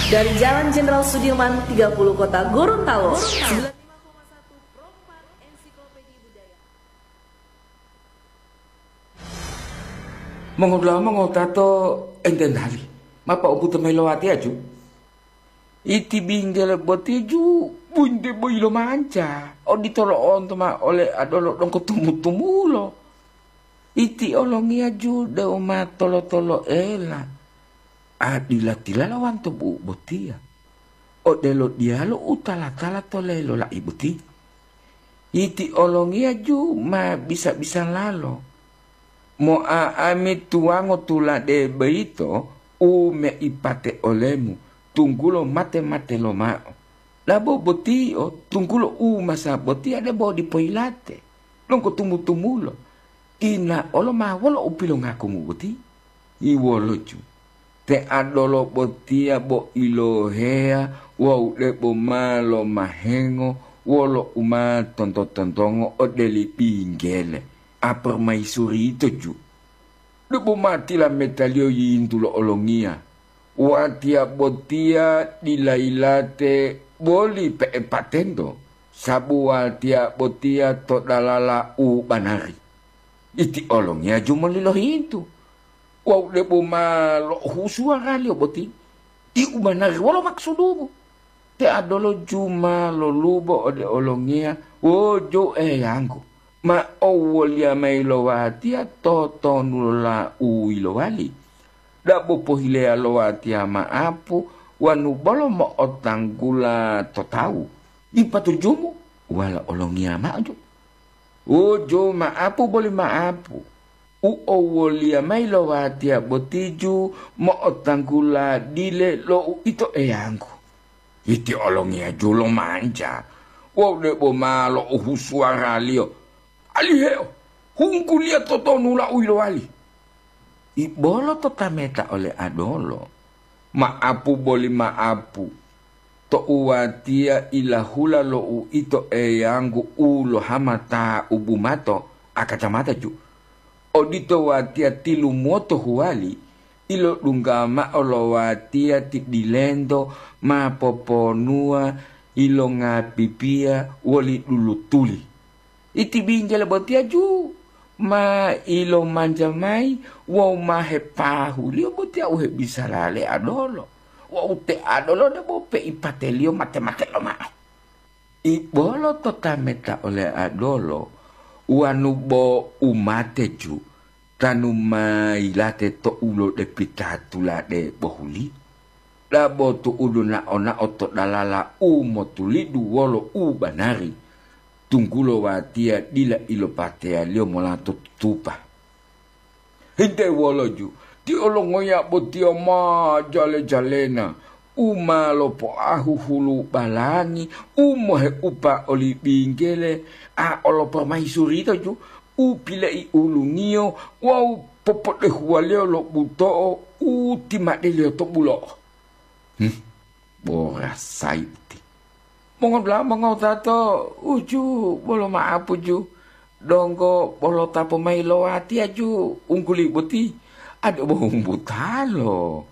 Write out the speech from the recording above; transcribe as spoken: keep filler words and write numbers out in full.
Dari Jalan Jenderal Sudirman tiga puluh Kota Gorontalo. Mongodula'a mongotato enten hali, ma po'obuto mayi lo watiya ju. Iti binggele boti ju bunte boyi lo manca, odito lo'onto mao ole adolo donggo tumu-tumulo. Iti olongiya ju deu ma tolo-toloela, a dila tilala wanto bu'u botiya, odelo diyalu u tala-tala to lelo la'i boti. Iti olongiya ju ma bisa-bisalalo. Mo'a'ami tuwango tulade boyito u meipate olemu, tunggulo mate-mate lomao. Labo botiyo, tunggulo u masa botiya debo dipo yilate, donggo tumu-tumulo. Ina olo ma wolo u pilongakumu boti? Iwoloju, te adolo botiya bo iloheya wawu debo ma lomahengo wolo u ma tonto-tontongo ode li binggele, a pormaisuri yito ju. Debo ma tilametaliyo yiyintu lo olongiya, watiya botiya dila yilate boli pe'epatento, sabu watiya botiya to dalala u banari. Iti olongiya ju moli lohintu, wawu debo ma lo'ohu suwaraliyo boti, ti u banari wolo makusudumu? Te adolo ju ma lolubo ode olongiya, wojo Eyanggu, ma owoliya mayi lo watiya totonulola u yilowali. Dabo pohileya lo watiya ma'apu wanu bolo mo'otanggula to tawu. Dipa tujumu? Wala olongiya mao ju. Wojo ma'apu boli ma'apu, u owoliya mayi lo watiya boti ju mo'otanggula dile lo uito Eyanggu. Iti olongiya ju lomanja wawu debo ma lo'ohu suwaraliyo, "Aliheo, hungguliya totonula u yilowali." Ibolo to tameta ole adolo, "Ma'apu boli ma'apu, to'u watiya ilahula lo uito Eyanggu u lohamata u bumato, a kacamata ju. Odito watiya tilumuwoto huwali, ilodungga mao lo watiya ti dilento ma poponuwa ilongapipiya woli dulutuli. Iti binggele botiya ju ma ilomanja mayi wawu ma hepahuliyo botiya u hebisala le adolo, wawu te adolo debo peipateliyo mate-mate lomao." Ibolo to tameta ole adolo, wanu bo umate ju, tanu ma yilate to ulodepita tulade bohuli. Dabo tu'udu nao-nao to dalala u motulidu wolo u banari, tunggulo watiya dila ilopateyaliyo mola to tutupa. Hinte woloju, ti olongoya botiya ma jale-jalena, u ma lopoahu hulu balangi, u moheupa oli binggele, a olo pormaisuri yito ju, u pilei ulungiyo wawu popodehuwaliyo lo buto'o u timadeliyo to bulo'o. Hmm, borasayi boti. Mongodula'a mongotato, uju bolo ma'apu ju, donggo bolo tapo mayi lo watiya ju ungguli boti, ade bo humbutalo.